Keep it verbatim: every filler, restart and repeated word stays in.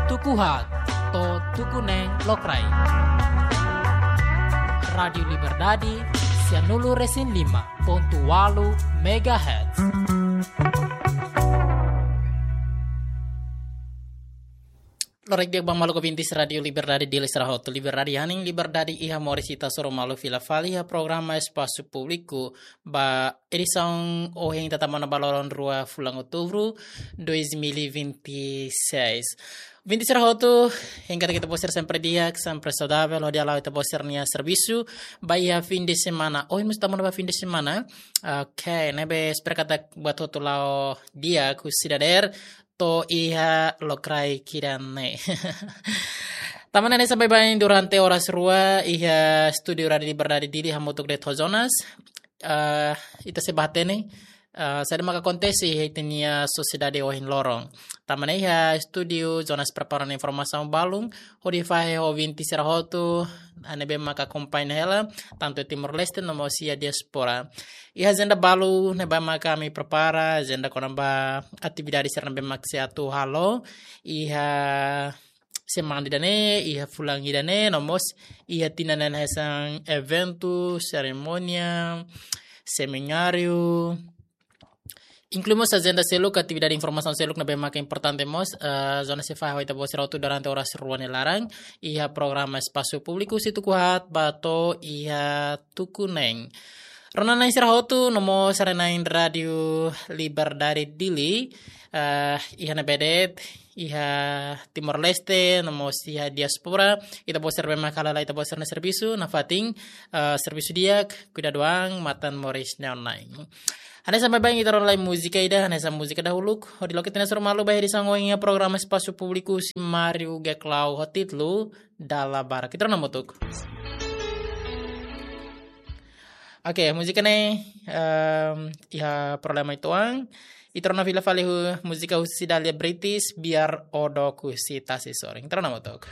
Tuku haat to'o tuku neen lokraik. Rádiu Liberdade, sianulu resin lima pontu ualu megahertz. Loron di'ak ba maluk ouvintes Rádiu Liberdade Dili sira hotu. Liberdade hanesan liberdade iha moris ita hasoru malu fila fali iha programa Espasu Públiku ba edisaun ohin ita tama ona ba loron rua fulan Outubru dois mil e vinte e seis. Ouvintes sira hotu, hein katak ita-boot sira sempre di'ak, sempre saudavel, hodi hala'o ita-boot sira-nia servisu ba iha fim de semana. Ohin mós tama ona ba fim de semana. Oke, ne'ebé espera katak buat hotu la'o di'ak husi dadeer to'o iha lokraik ida-ne'e. Tanba ne'e hanesan baibain durante oras rua iha estúdiu Rádiu Liberdade Dili hamutuk de'it ho Jonas. Eh, ita sei bá hatene, eh, saida maka akontese iha ita-nia sosiedade ohin loron. Tanba ne'e iha estúdiu Jonas prepara ona informasaun balun hodi fahe ho ouvintes sira hotu, ah, ne'ebé maka akompaña hela, tantu Timor-Leste no mós iha diáspora. Iha ajenda balu ne'ebé maka ami prepara, ajenda kona-ba atividade sira ne'ebé mak sei atu halo iha semana ida-ne'e, iha fulan ida-ne'e, no mós iha tinan ne'e hanesan eventu, serimónia, semináriu, inklui mós ajenda seluk, atividade informasaun seluk ne'ebé maka importante mós, eh, Jonas sei fahe ho ita-boot sira hotu durante oras rua nia laran, iha programa Espasu Públiku husi tuku haat ba to'o iha tuku neen. Rona-na'in sira hotu, no mós sarani-na'in Rádiu Liberdade Dili, eh, iha ne'ebé de'it, iha Timor-Leste, no mós iha diáspora, ita-boot sira ne'ebé maka hala'o ita-boot sira-nia servisu, nafatin, eh, servisu di'ak, kuidadu an, matan moris neon-na'in. Hanesan baibain ita rona lai múzika ida, hanesan múzika dahuluk, hodi loke ita-nia hasoru malu ba iha edisaun ohin iha programa Espasu Públiku husi Mário Geclau ho títulu Dala Barak. Ita rona hamutuk. Oke, múzika ne'e, em, iha problema uitoan. Ita rona fila fali ho múzika husi Dahlia Brites, Biar Ó Dook husi Tasi Sorin. Ita rona hamutuk.